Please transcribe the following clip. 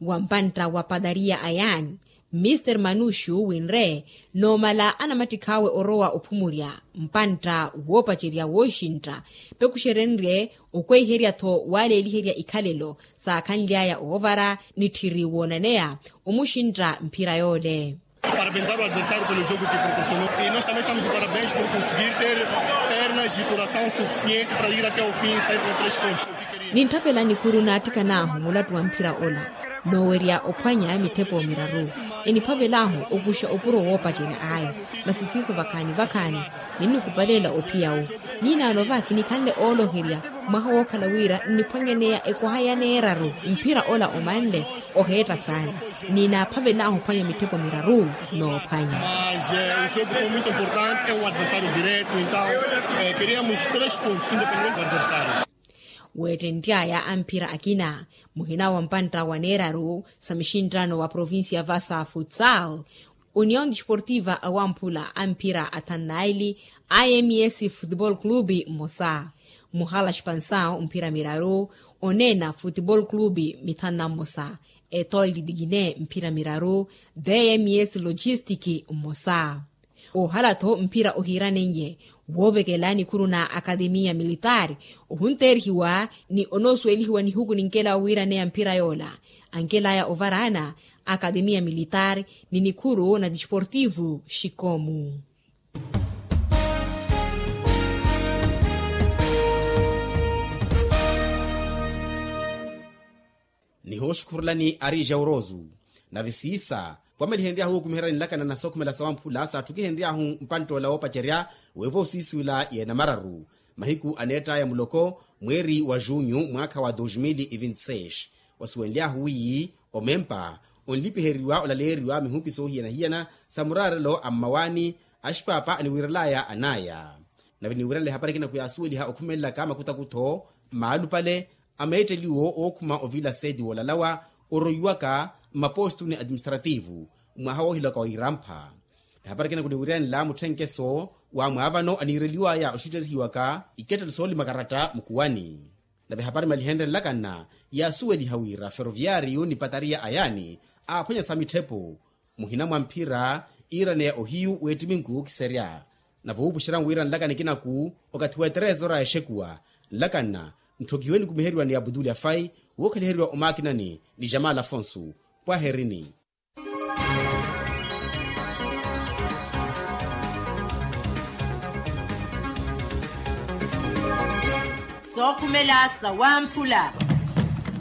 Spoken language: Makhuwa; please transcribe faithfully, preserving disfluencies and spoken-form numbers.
Wa mpantta wa padariya ayani, mr manuxu winre, noomala anamattikh'awe orowa ophumurya mpantta woopacerya wooxintta, pekuxerenrye okweiherya-tho waleeliherya ikhalelo saakhanly'aya oovara ni tthiri woonaneya omuxintta mphira yoole. Parabenzar o adversário pelo jogo que proporcionou e nós também estamos de parabéns por conseguir ter pernas e coração suficiente para ir até ao fim e sair com três pontos. Nintthapela nikhuru naattikan'ahu mulattu wa mphira ola, noowerya ophwanya mitthepo miraru. Eniphavel'ahu okuxa opuro woopacerya ayo, masi siiso vakhaani vakhaani ninnikupaleela ophiya-wu. Niinaano va kinikhanle ooloherya mwaha wookhala wira nniphwanyaneya ekwaha ya neeraru. Mphira ola omanle oheetta saana. Ninaaphavel'ahu ophwanya mitthepo miraru. Noophwanya. Mas o jogo foi muito importante, é um adversário direto, então queríamos três pontos independente do adversário. Weettentt'aya a mphira akina, muhina wa mpantta wa neeraru sa mixinttano wa provincia vasa futsal, union desportiva awamphula a mphira athanu naili, ims futebol clube mmosa, muhala expansaw mphira miraru, oneena futebol clube mithanu na mmosa, etol de digine mphira miraru, dms logistic mmosa. Oohala-tho mphira ohiiranenye woovekela nikhuru na akademiya militaari, ohunteerihiwa ni onoosuwelihiwa nihuku ninkela owiiraneya mphira yoola. Ankelaya ovaraana akademiya militaari ni nikhuru na desportivu xikomu. Nihooxukhurulani ari jaurosu. Nave siisa wamalihenry'ahu wookumiherya nlakana na sookhumela sawamphula saatthukihenry'ahu mpantt'ola woopacerya, weevo siisiwila yeena mararu mahiku aneett'aya muloko mweeri wa junyu mwaakha wa dos mil e vinti seis. Wasuwenly'ahu wiyi omempa onlipiheriwa olaleeriwa mihupi soohiyana-hiyana sa muraarelo a mmawaani, axipaapa aniwiirel'aya an'aya. Nave niwiirana lehapari akina khuyaasuweliha okhumelelaka makutakutho maalupale a meetteliwo ookhuma ovila seti woolalawa, oroiwaka mmapostu ni administrativu mwaha woohilaka wa irampha. Ehapari akina khuniwiiranela mutthenkeso wa mwaavano aniireliwaya oxutterihiwaka ikettelo soolima karatta mukuwani. Nave ehapari malihenre nlakana yaasuweliha wira ferroviariyu ni patariya ayaani aaphwanya sa mitthepo muhina mwa mphira iiraneya ohiyu w'ettiminku kiserya. Nave wuupuxerya nwira nlakana ekinaku okathi wa eterezora exekuwa nlakana ntthokihiwe nikumiheriwa ni abutuli afai wookhaliheriwa omaakinani ni jamal afonso. Pwaherini. Sookhumela sawamphula.